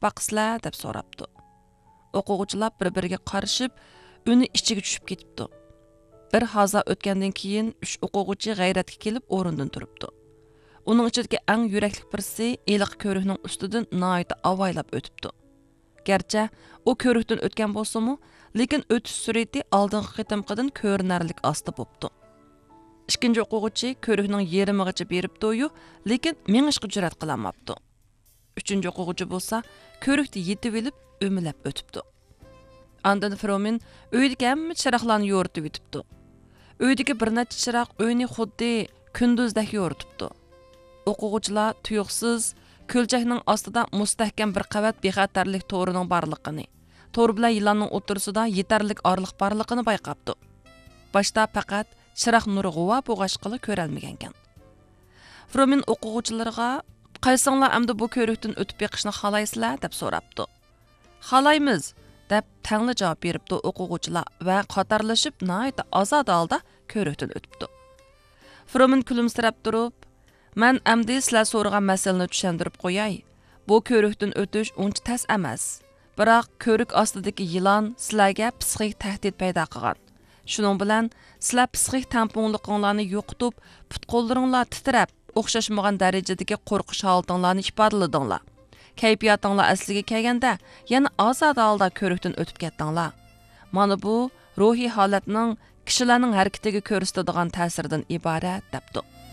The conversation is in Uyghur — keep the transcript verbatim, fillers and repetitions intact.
باقىسىلەر؟ دەپ سوراپتۇ. ئوقۇغۇچىلار بىر-بىرىگە قارىشىپ، ئۈنى ئىچىگە چۈشۈپ كېتىپتۇ. بىر ھازا ئۆتكەندىن كېيىن، ئۈچ ئوقۇغۇچى غەيرەتكە كېلىپ ئورنىدىن تۇرۇپتۇ. ئۇنىڭ ئىچىدىكى ئەڭ يۈرەكلىك بىرسى ھېلىقى كۆۋرۈكنىڭ ئۈستىدىن ناھايىتى ئاۋايلاپ ئۆتۈپتۇ. گەرچە ئۇ كۆۋرۈكتىن ئۆتكەن بولسىمۇ، لېكىن ئۆتۈش سۈرئىتى ئالدىنقى قېتىمقىدىن كۆرۈنەرلىك ئاستا بوپتۇ. ئىككىنچى ئوقۇغۇچى كۆۋرۈكنىڭ يېرىمىغىچە بېرىپتۇ-يۇ، لېكىن مېڭىشقا جۈرئەت قىلالماپتۇ. ئۈچىنچى ئوقۇغۇچى بولسا كۆۋرۈكتە يېتىۋېلىپ ئۆمىلەپ ئۆتۈپتۇ. ئاندىن فرومىن ئۆيدىكى ھەممە چىراغلارنى يورۇتۇۋېتىپتۇ. ئۆيدىكى بىر نەچچە چىراغ ئۆينى خۇددى كۈندۈزدەك يورۇتۇپتۇ. ئوقۇغۇچىلار تۇيۇقسىز كۆلچەكنىڭ ئاستىدا مۇستەھكەم بىر قەۋەت بىخەتەرلىك تورىنىڭ بارلىقىنى، تور بىلەن يىلاننىڭ ئوتتۇرىسىدا يېتەرلىك ئارىلىق بارلىقىنى بايقاپتۇ. باشتا پەقەت چىراغ نۇرى غۇۋا بولغاچقىلا كۆرەلمىگەنكەن. فرومىن ئوقۇغۇچىلىرىغا، «قايسىڭلار ئەمدى بۇ كۆۋرۈكتىن ئۆتۈپ بېقىشنى خالايسىلەر؟» دەپ سوراپتۇ. «خالايمىز!» دەپ تەڭلا جاۋاب بېرىپتۇ ئوقۇغۇچىلار ۋە قاتارلىشىپ ناھايىتى ئازادە ھالدا كۆۋرۈكتىن ئۆتۈپتۇ. فرومىن كۈلۈمسىرەپ تۇرۇپ، «مەن ئەمدى سىلەر سورىغان مەسىلىنى چۈشەندۈرۈپ قوياي. بۇ كۆۋرۈكتىن ئۆتۈش ئۇنچە تەس ئەمەس. بىراق كۆۋرۈك ئاستىدىكى يىلان سىلەرگە پسىخىك تەھدىت پەيدا قىلغان. شۇنىڭ بىلەن سىلەر پسىخىك تەڭپۇڭلۇقۇڭلارنى يوقىتىپ، پۇت-قوللىرىڭلار تىترەپ، ئوخشاشمىغان دەرىجىدىكى قورقۇش ھالىتىڭلارنى ئىپادىلىدىڭلار. كەيپىياتىڭلار ئەسلىگە كەلگەندە، يەنە ئازادە ھالدا كۆۋرۈكتىن ئۆتۈپ كەتتىڭلار. مانا بۇ روھىي ھالەتنىڭ كىشىلەرنىڭ ھەرىكىتىگە كۆرسىتىدىغان تەسىرىدىن ئىبارەت» دەپتۇ.